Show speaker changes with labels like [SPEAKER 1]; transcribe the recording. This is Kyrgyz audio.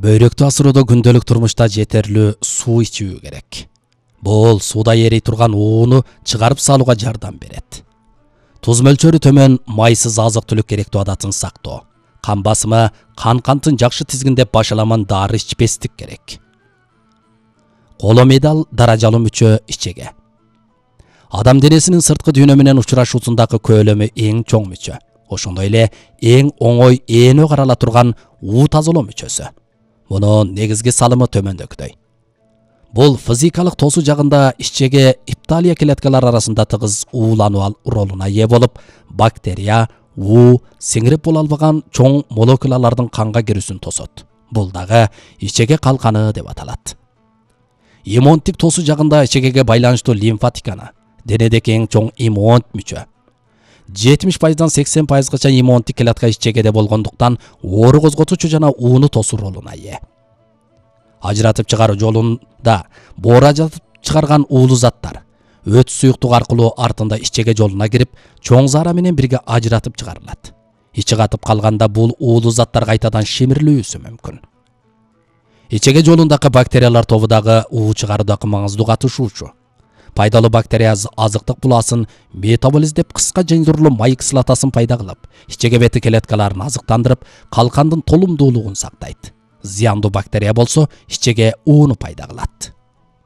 [SPEAKER 1] Бөйрөктү асыроодо күндөлүк турмушта жетерлүү суу ичүү керек. Бул сууда эрий турган ууну чыгарып салууга жардам берет. Туз мөлчөрү төмөн майсыз азык-түлүк керектүү адатын сактоо. Кан басымы, кантын жакшы тизгиндеп башаламан дары ичпестик керек. Коломедал даражалуу мүчө ичеге. Адам денесинин сырткы дүйнө менен учурашуусундагы көлөмү эң чоң мүчө. Ошондой эле эң оңой ээнө карала турган уу тазалоо мүчөсү. Мунун негизги салымы төмөндөгүдөй. Бул физикалык тосуу жагында ичеге ипtalия клеткалар арасында тыгыз уулануу ролуна ээ болуп, бактерия, уу, сиңирип боло албаган чоң молекулалардын канга кирүүсүн тосот. Бул дагы ичеге калканы деп аталат. Иммундук тосуу жагында ичегеге байланыштуу лимфатиканы, денедеги эң чоң иммунд мүчө. 70%дан 80%гача иммундук клетка ичегеде болгондуктан оору козготуучу жана ууну тосуу ролуна ээ. Ажыратып чыгаруу жолунда боор ажыратып чыгарган уулуу заттар өт суюктук аркылуу артында ичеге жолуна кирип, чоң заара менен бирге ажыратып чыгарылат. Ичи катып калганда бул уулуу заттар кайтадан шимирилүүсү мүмкүн. Ичеге жолундагы бактериялар тобу дагы уу чыгаруудагы маңыздуу катышуучу. Пайдалуу бактерия азыктык буласын метаболиздеп кыска жыйындырулуу май кислотасын пайда кылып, ичеге бети клеткаларын азыктандырып, калкандын толумдуулугун сактайт. Зыяндуу бактерия болсо ичеге ууну пайда кылат.